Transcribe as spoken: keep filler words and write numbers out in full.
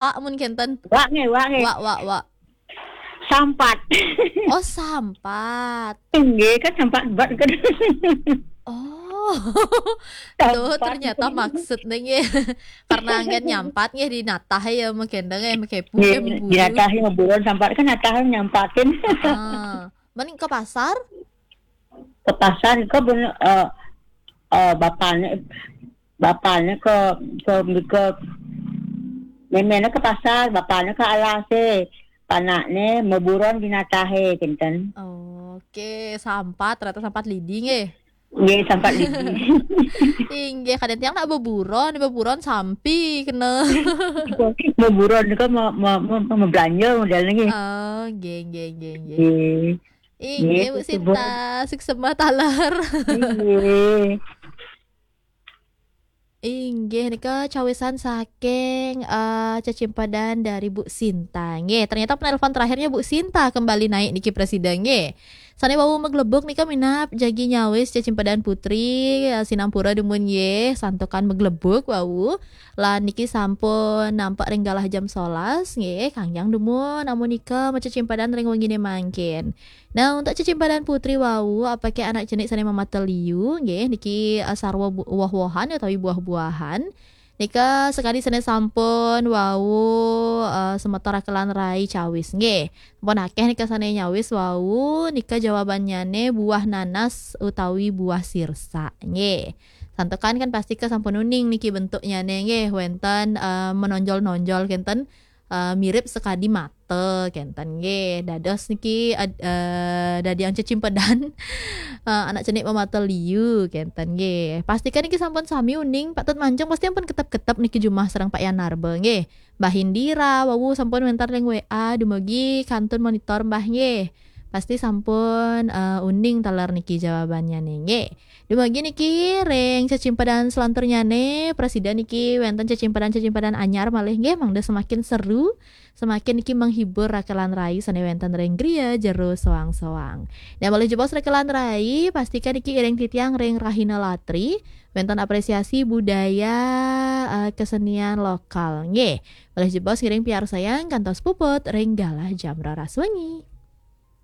Pak mun kenten. Wak nggih, wak nggih. Wak, wak, wak. Sampat. Oh, sampat. Nggih, kan sampat bat kan. Oh. Tuh, Sampat. Ternyata maksudnya nggih. Karena anggen nyampat nggih di natah ya, menggendeng ya, mengkepu Nggih, ya, memburu. Di natah ya, buron sampat kan natah nyampatin. Ah. Mending ke pasar? Ke pasar ke bener, eh, eh, bapaknya, bapaknya ke, ke, ke memena ke pasar, bapaknya ke alase, panaknya meburon di natahe, kenten. Oke, sampat, ternyata sampat lidi nggih. Nggih, sampat lidi. Inggih, kadang tiang nak beburon, beburon sampi kena. Meburon ke me, me, me, me, belanja modalnya nggih. Oh, nggih, nggih, nggih, nggih. Nggih. Inggih, Bu Nggih, Sinta, suksema taler. Nggih. Inggih, nika cawisan saking eh, cecimpedan dari Bu Sinta. Nggih, ternyata penelpon terakhirnya Bu Sinta kembali naik niki, Presiden, nggih. Sane wau meglebuk nika minab jagi nyawis cecimpedan Putri, eh, sinampura dumun nggih, santukan meglebuk wau. Lan niki sampun nampak ring galah jam solas nggih, kangyang dumun amun nika macecimpedan ring wengine mangkin. Nah, untuk cecimpedan Putri wau, apake anak cenik sane mamata liu nggih, niki eh, sarwa bu- woh-wohan utawi buah-buahan. Nika sekadi sane sampun wau eh, semeton rakelan rai cawis nggih. Sampun akeh nika sane nyawis wau, nika jawabannyane buah nanas utawi buah sirsak nggih. Santukan kan pasti ke sampun uning niki bentuknyane nggih, wenten eh, menonjol-nonjol kenten, eh, mirip sekadi mata kenten nggih. Dados niki ad- eh, dadi yang cecimpedan eh, anak cenik mamata liu kenten nggih. Pastikan niki sampun sami uning, patut manjeng pasti ampun ketep-ketep niki jumah sareng Pak Yanarba nggih. Mbah Indira wau sampun wenten ring W A, dumugi kantun monitor Mbah nggih. Pasti sampun eh, uning taler niki jawabannyane nggih. Dumugi niki ring cecimpedan selanturnyane, Presiden, niki wenten cecimpedan-cecimpedan anyar malih nggih, mangda semakin seru, semakin niki menghibur rakelan rai sane wenten ring griya jero soang-soang. Nah, malih jebos rakelan rai, pastikan niki iring titiang ring Rahina Latri, wenten apresiasi budaya eh, kesenian lokal nggih. Malih jebos ngiring piarsayang kantos puput ring galah jam roras wengi.